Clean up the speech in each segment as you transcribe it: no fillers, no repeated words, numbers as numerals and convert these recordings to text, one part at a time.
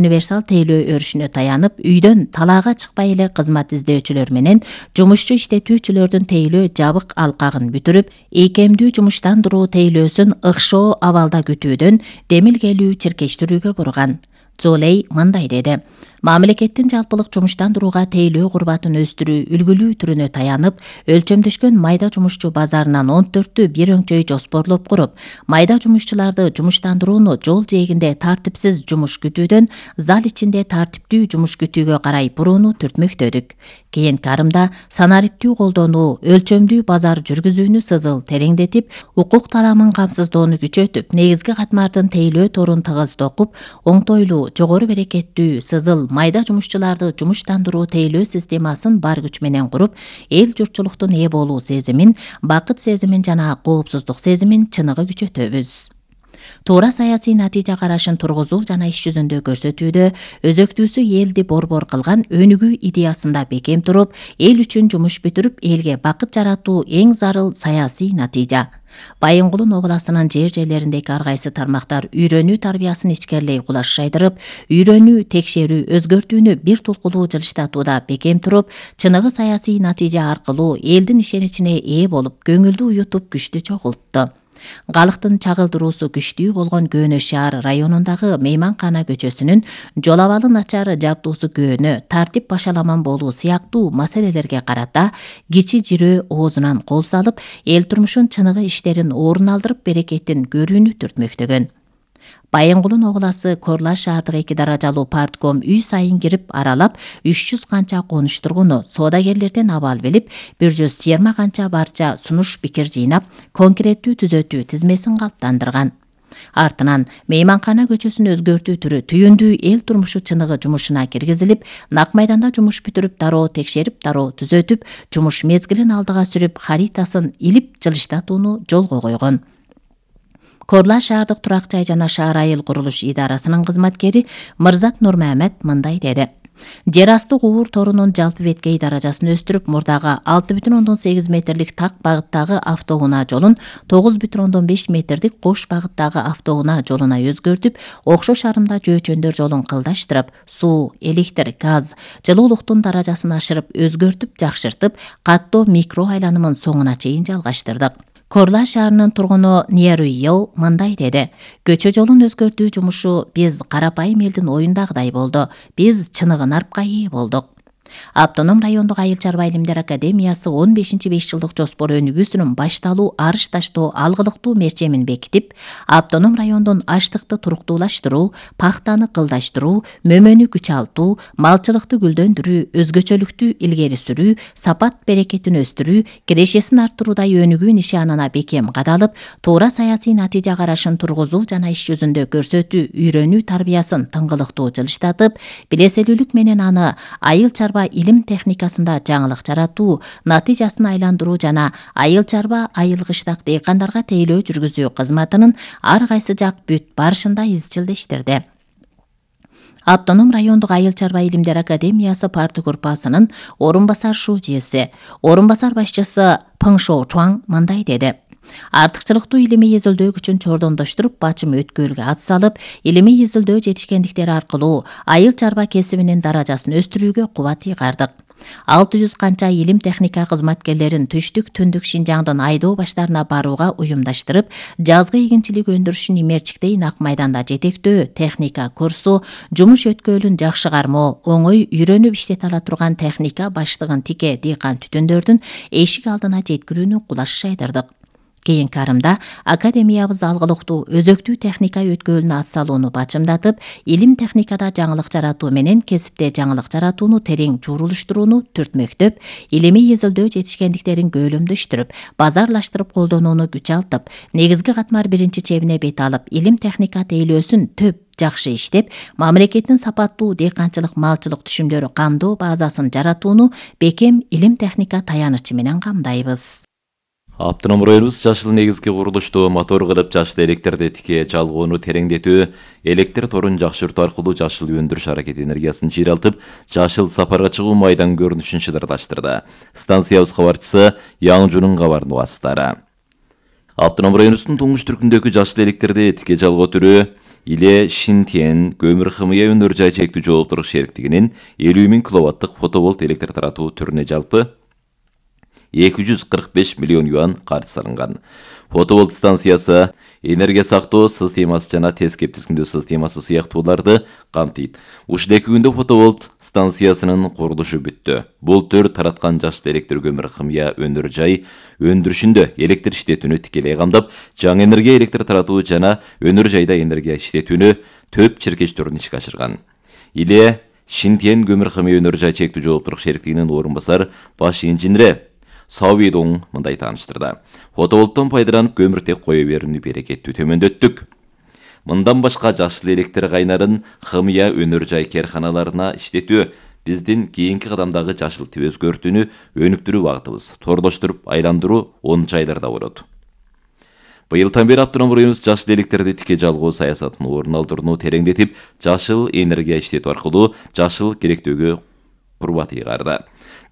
Универсал тейлөө өрүшүнө таянып, үйдөн талаага чыкпай эле кызмат издөөчүлөр менен жумушчу иштетүүчүлөрдүн тейлөө жабык алкагын бүтүрүп, ийкемдүү жумуштандыруу тейлөөсүн ыкшоо абалда күтүүдөн демилгелүү чиркештирүүгө бурган. Золей мындай деди: мамлекеттин жалпылык жумуштандырууга тейлөө курбатын өстүрүү үлгүлүү түрүнө таянып, өлчөмдөшкөн майда жумушчу базарынан 14 бир өңчөй жоспорлоп куруп, майда жумушчуларды жумуштандырууну жол жээгинде тартипсиз жумуш күтүүдөн зал ичинде тартиптүү жумуш күтүүгө карай бурууну түртмөктөдүк. Кийинки арымда санариптүү колдонуу, өлчөмдүү базар жүргүзүүнү сызыл тереңдетип, укук таламын камсыздоону күчөтүп, негизги катмардын тейлөө торун тыгыз токуп, оңтойлуу, жогору берекеттүү сызыл майда жумушчуларды жумуштандыруу тейлөө системасын бар күч менен куруп, эл журтчулуктун ээ болуу сезимин, бакыт сезимин жана коопсуздук сезимин чыныгы күчөтөбүз. Туура саясий натыйжа карашын тургузуу жана иш жүзүндө көрсөтүүдө өзөктүүсү элди борбор кылган өнүгүү идеясында бекем туруп, эл үчүн жумуш бүтүрүп, элге бакыт жаратуу эң зарыл саясий натыйжа. Байынгулун областынын жерлериндеги ар кайсы тармактар үйрөнүү тарбиясын ичкерлей кулаш жайдырып, үйрөнүү, текшерүү, өзгөртүүнү бир тулкулуу жылыштатууда бекем туруп, чыныгы саясий натыйжа аркылуу элдин ишеничине ээ болуп, көңүлдү уютуп, күчтү чогултту. Галыктын чагылдыруусу күчтүү болгон Көөнө шаар районундагы Мейманкана көчөсүнүн жол абалы начар, жабдуусу көөнө, тартип башаламан болуу сыяктуу маселелерге карата кичи жирөө оозунан кол салып, эл турмушун чыныгы иштерин орун алдырып, берекетин көрүүнү түртмөктөгөн. Байынгулун обласы Корлар шаардык 2 даражалуу партком үй сайын кирип аралап, 300 канча конуш тургуну, соодагерлерден абал билип, 120 канча барча сунуш пикир жыйнап, конкреттүү түзөтүү тизмесин калыптандырган. Артынан Мейманкана көчөсүн өзгөртүү түрү түйүндүү эл турмушу чыныгы жумушуна киргизилип, нак майданда жумуш бүтүрүп, дароо текшерип, дароо түзөтүп, жумуш мезгилин алдыга сүрүп, харитасын илип жылыштатууну жолго койгон. Корлар шаардык турак жай жана шаар айыл курулуш идарасынын кызматкери Мырзат Нурмамед мындай деди: жер асты уур торунун жалпы беткей даражасын өстүрүп, мурдагы 6,8 метрлик так багыттагы автоунаа жолун 9,5 метрдик кош багыттагы автоунаа жолуна өзгөртүп, окшош арымда жөөчөндөр жолун кылдаштырып, суу, электр, газ, жылуулуктун даражасын ашырып, өзгөртүп, жакшыртып, каттоо микро айланымын соңуна чейин жалгаштырдык. Корлар шаарынын тургуну Ниеруйо мындай деди: көчө жолун өзгөртүү жумушу биз карапайым элдин оюндагыдай болду. Биз чыныгы нарпка ээ болдук. Автоном райондук айыл чарба илимдер академиясы 15-5 жылдык жоспор өнүгүүсүнүн башталуу арыш таштоо алгылыктуу мерчемин бекитип, автоном райондун аштыкты туруктуулаштыруу, пахтаны кылдаштыруу, мөмөнү күчалтуу, малчылыкты гүлдөндүрүү, өзгөчөлүктү илгери сүрүү, сапат берекетин өстүрүү, кирешесин арттыруудай өнүгүү нишанына бекем кадалып, туура саясий натыйжа карашын тургузуу жана иш жүзүндө көрсөтүү, үйрөнүү тарбиясын тыңгылыктуу жылыштатып, билеселүүлүк менен аны айыл чарба илим техникасында жаңылык жаратуу, натыйжасын айландыруу жана айыл чарба айыл кыштак дыйкандарга тейлөө жүргүзүү кызматынын ар кайсы жак бүт барышында изчилдештирди. Автоном райондук айыл чарба илимдер академиясы парты группасынын орун басар шужеси, орун басар башчысы Пыңшо Чуаң мындай деди: артыкчылыктуу илимий изилдөө күчүн чордондоштуруп, бачым өткөөлгө ат салып, илимий изилдөө жетишкендиктери аркылуу айыл чарба кесибинин даражасын өстүрүүгө кубат ыйгардык. 600 канча илим техника кызматкерлерин түштүк, түндүк Шинжаңдын айдоо баштарына барууга уюмдаштырып, жазгы эгинчилик өндүрүшүн имерчиктей нак майданда жетектөө, техника курсу, жумуш өткөөлүн жакшы кармоо, оңой үйрөнүп иштете ала турган техника баштыгын тике дыйкан түтүндөрдүн эшик алдына жеткирүүнү кулаш жайдырдык. Кийинки арымда академиябыз алгылыктуу, өзөктүү техника өткөөлүнө ат салууну бачымдатып, илим техникада жаңылык жаратуу менен кесипте жаңылык жаратууну терең чурулуштурууну түртмөктөп, илимий изилдөө жетишкендиктерин көөлөмдөштүрүп, базарлаштырып колдонууну күчалтып, негизги катмар биринчи чебине бет алып, илим техника тейлөөсүн төп жакшы иштеп, мамлекеттин сапаттуу дыйканчылык малчылык түшүмдөрү камдоо базасын жаратууну бекем илим техника таянычы менен камдайбыз. Автоном районубуз жашыл негизги курулушту мотор кылып, жашыл электрди тике жалгоону тереңдетүү, электр торун жакшыртуу аркылуу жашыл өндүрүш аракети энергиясын чыйралтып, жашыл сапарга чыгуу майдан көрүнүшүн шыдырдаштырды. Станциябыз кабарчысы Яңжунун кабарын угасыздары. Автоном районубуздун туңгуч түркүндөгү жашыл электрди тике жалгоо түрү Иле Шинтиен көмүр хымыя өнөр жай чектүү жооптурук шериктигинин 50 000 киловаттык фотоволт электр таратуу түрүнө жалпы 245 миллион юан каржы салынган. Фотоволт станциясы энергия сактоо системасы жана тез кептирүүчү системасы сыяктууларды камтыйт. Ушул 2 күндө фотоволт станциясынын курулушу бүттү. Бул төр тараткан жашыл электр көмүр хымыя өнөр жай өндүрүшүндө электр иштетүүнү тикелей камдап, жаңы энергия электр таратуу жана өнөр жайда энергия иштетүүнү төп чиркечтерин ишке ашырган. Иле Шинтиен көмүр хымыя өнөр жай чектүү жооптурук шериктигинин орун басар баш инженери Сауидоң мындай тааныштырды. Фотоволттон пайдаланып көмүртек кое берүүнү берекеттүү төмөндөттүк. Мындан башка жашыл электр кайнарын хымыя өнөр жай керканаларына иштетүү биздин кийинки кадамдагы жашыл тип өзгөртүүнү өнүктүрүү багытыбыз. Торлоштуруп айландыруу 10 айларда болот. Быйылдан бери автоном районубуз жашыл электрди тике жалгоо саясатын орун алдырууну тереңдетип, жашыл энергия иштетүү аркылуу жашыл керектөөгө курбат ыйгарды.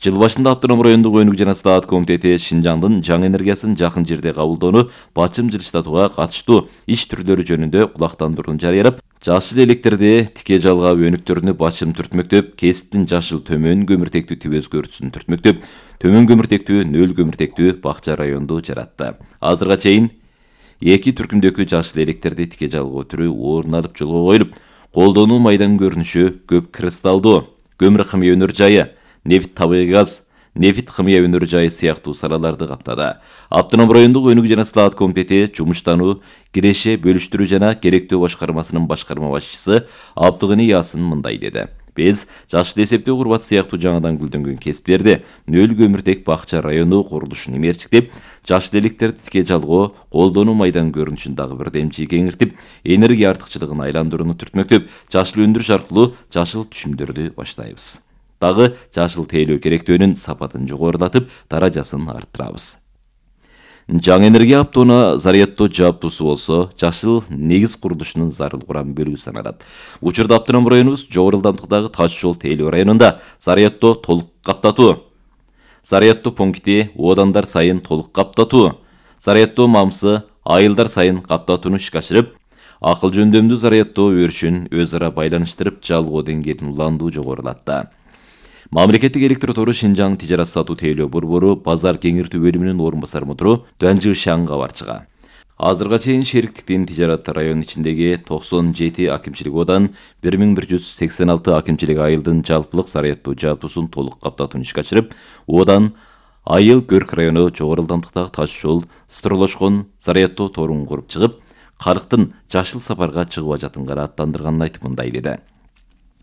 Жыл башында автоном райондук өнүгүү жана стаат комитети Шинжаңдын жаңы энергиясын жакын жерде кабылдоону бачым жылыштатууга катыштуу иш түрлөрү жөнүндө кулактандырууну жарыялап, жашыл электрди тике жалгаа өнүктөрүнү бачым түртмөктөп, кесиптин жашыл төмөн көмүртектүү тип өзгөртүүсүн түртмөктөп, төмөн көмүртектүү, нөл көмүртектүү бакча районду жаратты. Азырга чейин 2 түркүмдөгү жашыл электрди тике жалгоо түрү орун алып жолго коюлуп, колдонуу майдан көрүнүшү көп кристалдуу көмүр хымыя өнөр жайы, нефт табигый газ, нефт хымыя өнөр жайы сыяктуу салаларды каптады. Автоном райондук өнүгүү жана стаат комитети жумуштануу, киреше бөлүштүрүү жана керектөө башкармасынын башкарма башчысы Абдыгыны Ясын мындай деди. Биз жашыл эсептөө курбат сыяктуу жаңыдан гүлдөнгөн кесиптерди нөл көмүртек бакча району курулушун эмерчиктеп, жашыл электрди тике жалгоо, колдонуу майдан көрүнүшүн дагы бир демчи кеңиртип, энергия артыкчылыгын айландырууну түртмөктөп, жашыл өндүрүш аркылуу жашыл түшүмдөрдү баштайбыз. Дагы жашыл тейлөө керектөөнүн сапатын жогорулатып, даражасын арттырабыз. Жаңы энергия аптоона заряддоо жабдуусу болсо, жашыл негиз курулушунун зарыл курам бөлүгү саналат. Учурда автоном районубуз жогору ылдамдыктагы таш жол тейлөө районунда заряддоо толук каптатуу, заряддоо пункти одандар сайын толук каптатуу, заряддоо мамсы айылдар сайын каптатууну ишке ашырып, акыл жөндөмдүү заряддоо өрүшүн өз ара байланыштырып, жалгоо деңгээлин уландуу жогорулатты. Мамлекеттик электр тору Шинжаң тижарат сатуу тейлөө борбору базар кеңиртүү бөлүмүнүн орун басар мудру Дөнжү Шаң кабарчыга. Азырга чейин шериктиктин тижарат район ичиндеги 97 акимчилик одан 1186 акимчилик айылдын жалпылык заряддоо жабдуусун толук каптатууну ишке ашырып, одан айыл Көрк району жогору ылдамдыктагы таш жол строрлошкон заряддоо торун куруп чыгып, калктын жашыл сапарга чыгып ажатынга аттандырганын айтып мындай деди.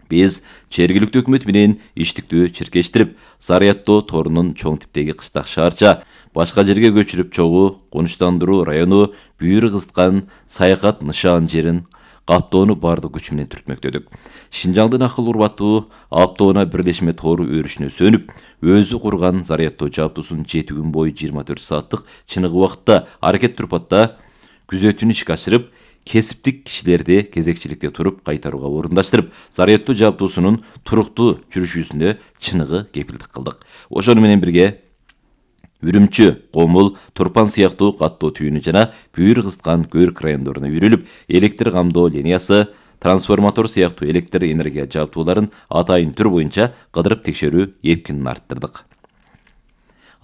Биз жергиликтүү өкмөт менен иштиктүү чиркештирип, заряддоо торунун чоң типтеги кыштак шаарча, башка жерге көчүрүп чогуу, конуштандыруу району бүйүрү кызыткан саякат нышан жерин каптоону бардык күч менен түртмөктөдүк. Шинжаңдын акыл урбаттуу аптоона бирлешме тору өрүшүнө сөнүп, өзү курган заряддоо жабдуусун 7 күн бою 24 сааттык чыныгы убакытта аракет турпатта күзөтүүнү ишке ашырып, кесиптик кишилерди кезекчиликте туруп кайтарууга орундаштырып, заряддоо жабдуусунун туруктуу жүрүшүнө чыныгы кепилдик кылдык. Ошону менен бирге Үрүмчү, Комул, Турпан сыяктуу каттоо түйүнү жана бүйүр кызыткан Көрк райондоруна үйрүлүп, электр камдоо линиясы, трансформатор сыяктуу электр энергия жабдууларын атайын түр боюнча кыдырып текшерүү эркинин арттырдык.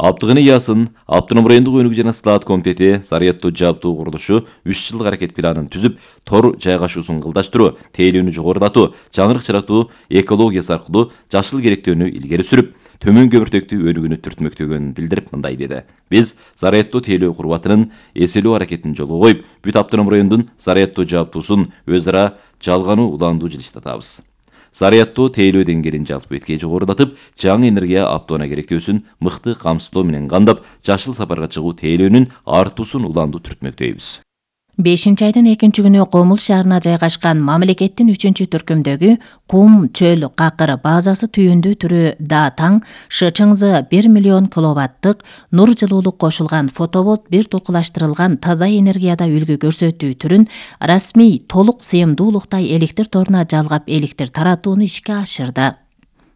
Абдыгыны Ясын автоном райондук өнүгүү жана стаат комитети заряддоо жабдуу курулушу 3 жылдык аракет планын түзүп, тор жайгашуусун кылдаштыруу, тейлөөнү жогорулатуу, жаңырык чыратуу экологиясы аркылуу жашыл керектөөнү илгери сүрүп, төмөн көмүртектүү өнүгүүнү түртмөктөгөнүн билдирип мындай деди. Биз заряддоо тейлөө курбатынын эселөө аракетин жолго коюп, бүт автоном райондун заряддоо жабдуусун өз ара жалгануу уландуу жылыштатабыз. Заряддоо тейлөө деңгээлин жалпы бетке жогорулатып, жаңы энергия аптоона керектөөсүн мыкты камсыздоо менен камдап, жашыл сапарга чыгуу тейлөөнүн артуусун уландуу түртмөктөйбүз. 5-айдын 2-күнү Комул шаарына жайгашкан мамлекеттин 3-түркүмдөгү Кум чөл какыр базасы түйүндүү түрү да таң ШЧНЗ 1 миллион киловаттык нур жылуулук кошулган фотоволт бир толкулаштырылган таза энергияда үлгү көрсөтүү түрүн расмий толук сыйымдуулуктай электр торуна жалгап электр таратууну ишке ашырды.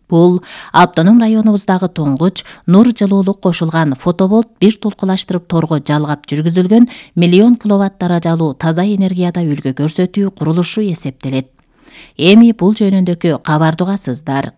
Бул автоном районубуздагы туңгуч нур жылуулук кошулган фотоболт бир толкулаштырып торго жалгап жүргүзүлгөн миллион киловатт даражалуу таза энергияда үлгү көрсөтүү курулушу эсептелет. Эми бул жөнүндөгү кабарды угасыздар.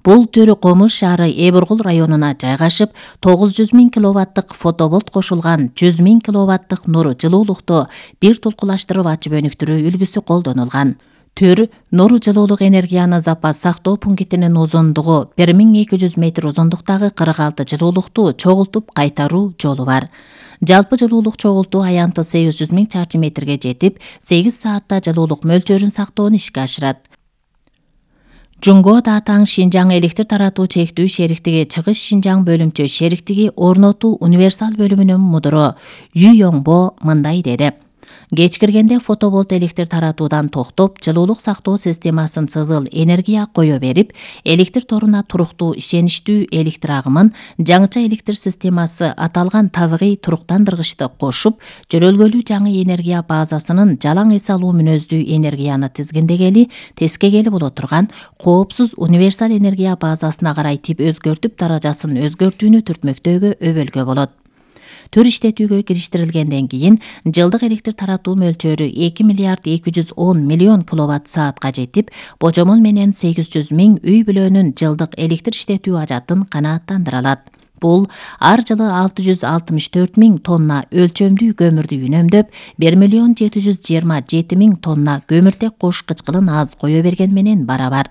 Бул Төрү Комуш шаары Эбургул районуна жайгашып, 900 000 киловаттык фотоболт кошулган 100 000 киловаттык нур жылуулукту бир толкулаштырып ачып өнүктүрүү үлгүсү колдонулган. Төр нур жылуулук энергияны запас сактоо пунктинин узундугу 1200 метр узундуктагы 46 жылуулукту чогултуп кайтаруу жолу бар. Жалпы жылуулук чогултуу аянты 800 000 чарчы метрге жетип, 8 саатта жылуулук мөлчөрүн сактоону ишке ашырат. Жунго Даатаң Шинжаң электр таратуу чектүү шериктиги Чыгыш Шинжаң бөлүмчө шериктиги орнотуу универсал бөлүмүнүн мудуру Ю Йоңбо мындай деди. Кеч киргенде фотоболт электр таратуудан токтоп, жылуулук сактоо системасын сызыл энергия кое берип, электр торуна туруктуу ишеничтүү электр агымын жаңыча электр системасы аталган табигый туруктандыргычты кошуп, жөрөлгөлүү жаңы энергия базасынын жалаң эс алуу мүнөздүү энергияны тизгиндегели, тескегели боло турган коопсуз универсал энергия базасына карай тип өзгөртүп даражасын өзгөртүүнү түртмөктөөгө өбөлгө болот. Төр иштетүүгө кириштирилгенден кийин жылдык электр таратуу мөлчөрү 2 миллиард 210 миллион киловатт саатка жетип, божомол менен 800 000 үй бүлөнүн жылдык электр иштетүү ажатын канааттандыра алат. Бул ар жылы 664 000 тонна өлчөмдүү көмүрдү үнөмдөп, 1 727 000 тонна көмүртек кош кычкылын аз кое берген менен барабар.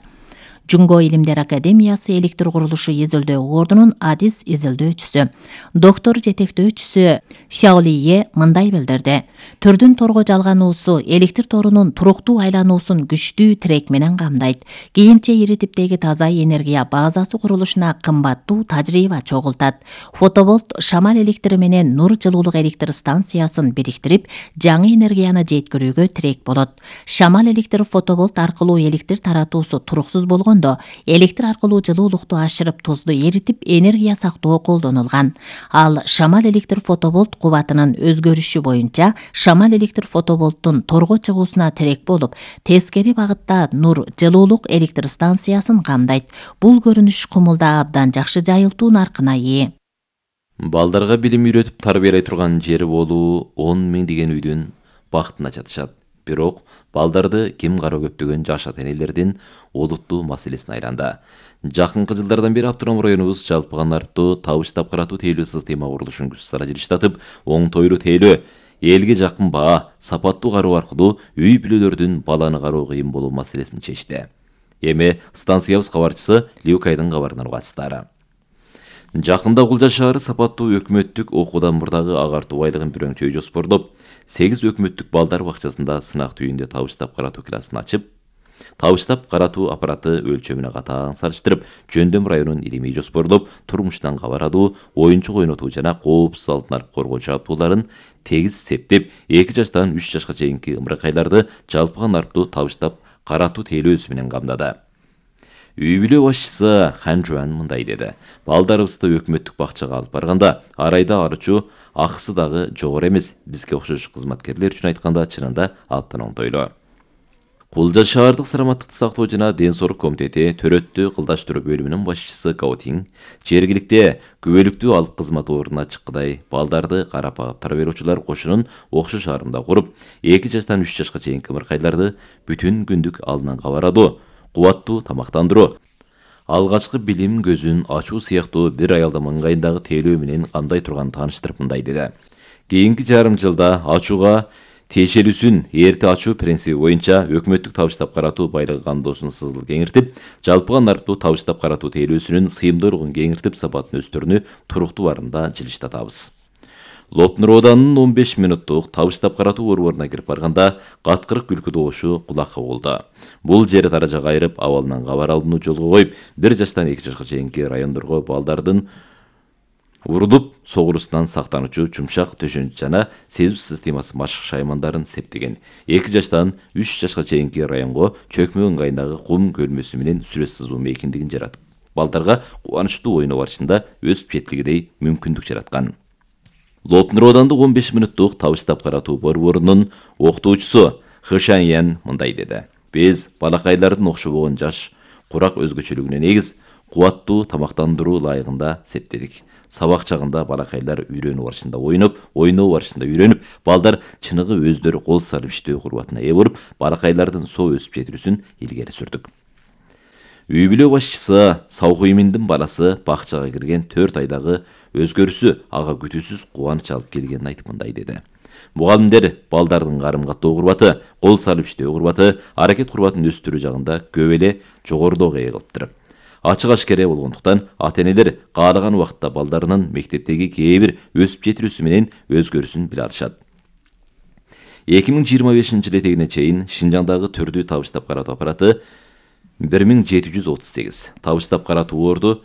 Жунго Илимдер Академиясы электр курулушу изилдөө ордунун адис изилдөөчүсү, доктор жетектөөчүсү Шаолие мындай билдирди. Түрдүн торго жалгануусу электр торунун туруктуу айлануусун күчтүү тирек менен камдайт. Кийинче ири типтеги таза энергия базасы курулушуна кымбаттуу тажрыйба чогултат. Фотоболт шамал электри менен нур жылуулук электр станциясын бириктирип, жаңы энергияны жеткирүүгө тирек болот. Шамал электр фотоболт аркылуу электр таратуусу туруксуз болгон электр аркылуу жылуулукту ашырып, тузду эритип, энергия сактоо колдонулган. Ал шамал электр фотоболт кубатынын өзгөрүшү боюнча шамал электр фотоболттун торго чыгуусуна тирек болуп, тескери багытта нур жылуулук электр станциясын камдайт. Бул көрүнүш кумулда абдан жакшы жайылтуу наркына ээ. Балдарга билим үйрөтүп тарбиялай турган жери болуу 10 000 деген үйдүн бактына жатышат. Бирок балдарды ким кароо көптөгөн жаш ата-энелердин олуттуу маселесине айланды. Жакынкы жылдардан бери автоном районубуз жалпыга нарптуу табыштап каратуу тейлөө система курулушун күч сара жылыштатып, оңтойлуу тейлөө, элге жакын баа, сапаттуу кароо аркылуу үй бүлөлөрдүн баланы кароо кыйын болуу маселесин чечти. Эми станциябыз кабарчысы Люкайдын кабарынан угасыздар. Жакында Кулжа шаары сапаттуу өкмөттүк окуудан мурдагы агартуу айлыгын бирөңчөй жоспордоп, 8 өкмөттүк балдар бакчасында сынак түйүндө табыштап каратуу классын ачып, табыштап каратуу аппараты өлчөмүнө катаң салыштырып, Жөндөм районун илимий жоспорлоп, турмуштан кабарадуу, оюнчук ойнотуу жана коопсуз алтын коргоо жабдууларын тегиз септеп, 2 жаштан 3 жашка чейинки ымыракайларды жалпыга нарптуу табыштап каратуу тейлөөсү менен камдады. Үй бүлө башчысы Хан Жуан мындай деди. Балдарыбызды өкмөттүк бакчага алып барганда, арайда арчу, акысы дагы жогору эмес. Бизге окшош кызматкерлер үчүн айтканда чынында абдан оңтойлуу. Кулжа шаардык саламаттыкты сактоо жана ден соолук комитети төрөттүү кылдаштыруу бөлүмүнүн башчысы Гаутин жергиликте күбөлүктүү алып кызмат ордуна чыккыдай балдарды карап багып тарбиялоочулар кошунун окшош арымда куруп, 2 жаштан 3 жашка чейинки ымыркайларды бүтүн күндүк алдынан кабарадуу, кубаттуу тамактандыруу, алгачкы билим көзүн ачуу сыяктуу бир аялдын маңгайындагы тейлөө менен кандай турган тааныштырып мындай деди. Кийинки жарым жылда ачууга тиешелүүсүн эрте ачуу принциби боюнча өкмөттүк табыштап каратуу байлыгы кандоосун сызыл кеңиртип, жалпыга нарптуу табыштап каратуу тейлөөсүнүн сыйымдуулугун кеңиртип, сапатын өстөрүнү туруктуу барымда жылыштатабыз. Лопнур ауданынын 15 мүнөттук табыштап каратуу борборуна кирип барганда каткырык күлкү добушу кулакка болду. Бул жери таражага айырып, абалынан кабар алууну жолго коюп, 1 жаштан 2 жашка чейинки райондорго балдардын урулуп согулуусунан сактануучу жумшак төшөнүч жана сезүү системасы машык шаймандарын септеген. 2 жаштан 3 жашка чейинки районго чөкмө ыңгайындагы кум көлмөсү менен сүрөт сызуу мейкиндигин жаратып, балдарга кубанычтуу ойноо барышында өсүп жеткилигидей мүмкүндүк жараткан. Лопнур аудандык 15 мүнөттук табыштап каратуу борборунун окутуучусу Хэшан Ян мындай деди. Биз балакайлардын окшобогон жаш курак өзгөчөлүгүнө негиз кубаттуу тамактандыруу ылайыгында септедик. Сабак чагында балакайлар үйрөнүү барышында ойноп, ойноо барышында үйрөнүп, балдар чыныгы өздөрү кол салып иштөө курбатына ээ болуп, балакайлардын соо өсүп жетилүүсүн илгери сүрдүк. Үй бүлө башчысы Саукуйминдин баласы бакчага кирген 4 айдагы өзгөрүүсү ага күтүүсүз кубаныч алып келгенин айтып мындай деди. Мугалимдер балдардын карым каттоо курбаты, кол салып иштөө курбаты, аракет курбатын өстүрүү жагында көп эле жогорудогу ээ кылыптыр. Ачык ашкере болгондуктан ата-энелер каалаган убакытта балдарынын мектептеги кээ бир өсүп жетилүүсү менен өзгөрүүсүн биле алышат. 2025-жылы этегине чейин Шинжаңдагы түрдүү табыштап каратуу аппараты 1738, табыштап каратуу орду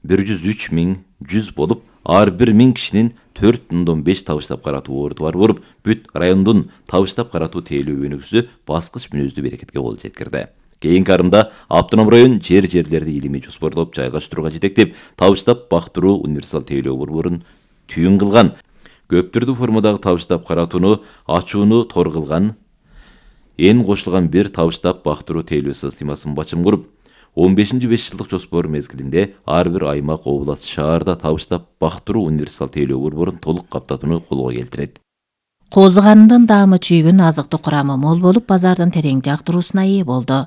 103.100 болуп, ар бир 1000 кишинин 4.5 табыштап каратуу орду бар болуп, бүт райондун табыштап каратуу тейлөө өнүгүүсү баскыч мүнөздүү берекетке кол жеткирди. Кийинки арымда автоном район жерлерди илимий жоспорлоп жайгаштырууга жетектеп, табыштап бактыруу универсал тейлөө борборун түйүн кылган, көп түрдүү формадагы табыштап каратууну ачууну тор кылган, эн кошулган бир табыштап бактыруу тейлөө системасын бачым куруп, 15-5 жылдык жоспор мезгилинде ар бир аймак, област, шаарда табыштап бактыруу универсал тейлөө борборун толук каптатууну колго келтирет. Козу карындын даамы чүйгүн азыктык курамы мол болуп, базардын терең жактыруусуна ээ болду.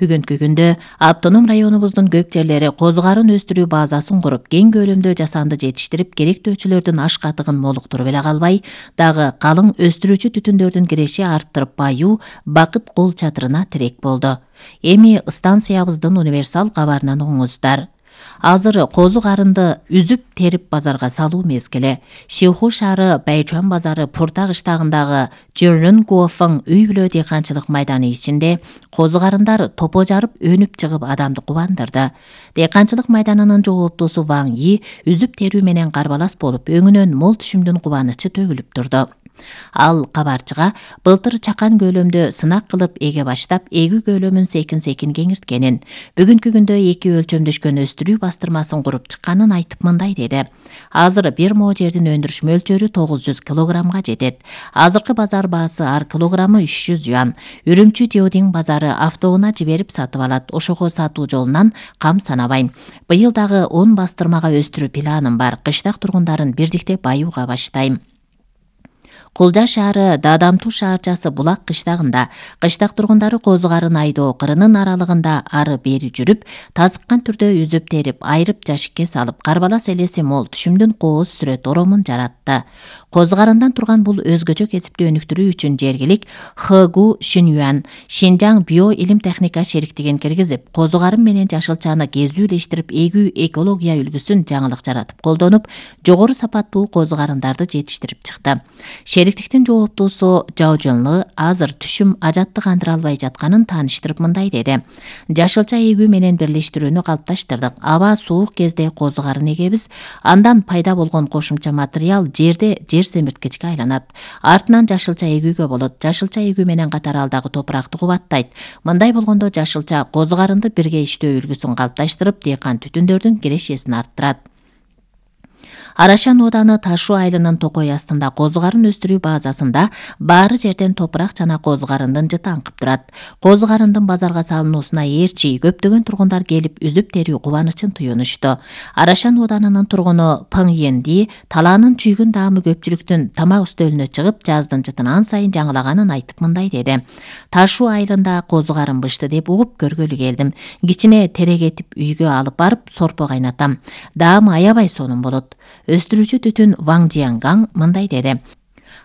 Бүгүнкү күндө автоном районубуздун көп жерлери козу карын өстүрүү базасын куруп, кең көлөмдө жасанды жетиштирип, керектөөчүлөрдүн аш катыгын молуктуруп эле калбай, дагы калың өстүрүүчү түтүндөрдүн киреши арттырып, баюу, бакыт кол чатырына тирек болду. Эми станциябыздын универсал кабарынан угуңуздар. Азыр козу карынды үзүп терип базарга салуу мезгили. Шиху шаары Байчуан базары Пурта кыштагындагы Жөрнөн Куофың үй бүлө дыйканчылык майданы ичинде козу карындар топо жарып өнүп чыгып адамды кубандырды. Дыйканчылык майданынын жооптуусу Ваң И үзүп терүү менен карбалас болуп, өңүнөн мол түшүмдүн кубанычы төгүлүп турду. Ал кабарчыга былтыр чакан көлөмдө сынак кылып эге баштап, эгүү көлөмүн секин-секин кеңирткенин, бүгүнкү күндө 2 өлчөмдөшкөн өстүрүү бастырмасын куруп чыкканын айтып мындай деди. Азыр бир мо жердин өндүрүш мөлчөрү 900 килограммга жетет. Азыркы базар баасы ар килограммы 300 юан. Үрүмчү Жеодин базары автоуна жиберип сатып алат. Ошого сатуу жолунан кам санабайм. Быйыл дагы 10 бастырмага өстүрүү планым бар. Кыштак тургундарын бирдикте баюуга баштайм. Кулжа шаары Дадамтуу шаарчасы Булак кыштагында кыштак тургундары козу карын айдоо кырынын аралыгында ары бери жүрүп, тазыккан түрдө үзүп терип, айрып жашикке салып, карбалас элеси мол түшүмдүн кооз сүрөт оромун жаратты. Козу карындан турган бул өзгөчө кесипти өнүктүрүү үчүн жергилик Хэгу Шүнюан Шинжаң био илим техника шериктигин киргизип, козу карын менен жашылчаны кезүүлештирип, эгүү экология үлгүсүн жаңылык жаратып колдонуп, жогору сапаттуу козу карындарды жетиштирип чыкты. Шериктиктин жооптуусу Жаожонлу азыр түшүм ажатты кандыра албай жатканын тааныштырып мындай деди. Жашылча эгүү менен бирлештирүүнү калыпташтырдык. Аба суук кезде козу карын эгебиз, андан пайда болгон кошумча материал жерде жер семирткичке айланат. Артынан жашылча эгүүгө болот. Жашылча эгүү менен катар ал дагы топуракты кубаттайт. Мындай болгондо жашылча козу карынды бирге иштөө үлгүсүн калыпташтырып, дыйкан түтүндөрдүн кирешесин арттырат. Арашан ооданы Ташу айылынын токой астында козу карын өстүрүү базасында баары жерден топурак жана козу карындын жыты аңкып турат. Козу карындын базарга салынуусуна ээрчи көптөгөн тургундар келип үзүп терүү кубанычын туюнушту. Арашан оодарынын тургуну Пың Енди талаанын чүйгүн даамы көпчүлүктүн тамак үстөлүнө чыгып, жаздын жытын ан сайын жаңылаганын айтып мындай деди. Ташу айылында козу карын бышты деп угуп көргөлү келдим. Кичине терек этип үйгө алып барып сорпо кайнатам. Даамы аябай сонун болот. Өстүрүүчү түтүн Ваң Жиянгаң мындай деди.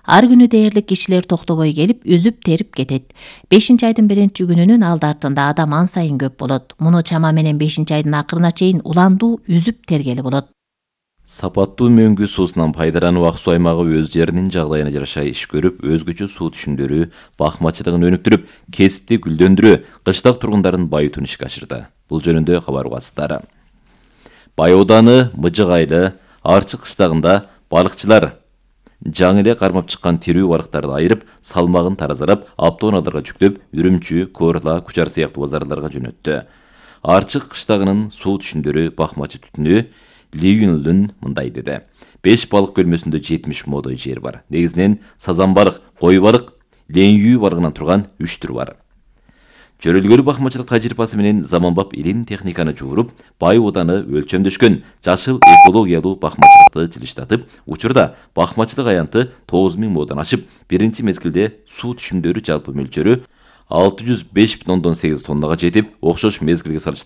Ар күнү дээрлик кишилер токтобой келип, үзүп терип кетет. 5-айдын 1-күнүнүн алды артында адам ан сайын көп болот. Муну чама менен 5-айдын акырына чейин уландуу үзүп тергели болот. Сапаттуу мөңгү суусунан пайдалануу ак суу аймагы өз жеринин жагдайына жараша иш көрүп, өзгөчө суу түшүмдөрү, бакмачылыгын өнүктүрүп, кесипти гүлдөндүрүү, кыштак тургундарын байытууну ишке ашырды. Бул жөнүндө кабар угасыздар. Бай ауданы Мыжык айылы Арчы кыштагында балыкчылар жаңы эле кармап чыккан тирүү балыктарды айырып, салмагын таразалап, автоунааларга жүктөп, Үрүмчү, Корла, Кучар сыяктуу базарларга жөнөттү. Арчы кыштагынын суу түшүмдөрү, бакмачы түтүнү Лиюнлдун мындай деди. 5 балык көлмөсүндө 70 модой жер бар. Негизинен сазан балык, кой балык, ленйүү балыгынан турган 3 түр бар. Жөрөлгөлүү бакмачылык тажрыйбасы менен заманбап илим техниканы жууруп, бай уданы өлчөмдөшкөн жашыл экологиялуу бакмачылыкты жылыштатып, учурда бакмачылык аянты 9000 модон ашып, биринчи мезгилде суу түшүмдөрү жалпы мөлчөрү 605,8 тоннага жетип, окшош мезгилге салыштырмалуу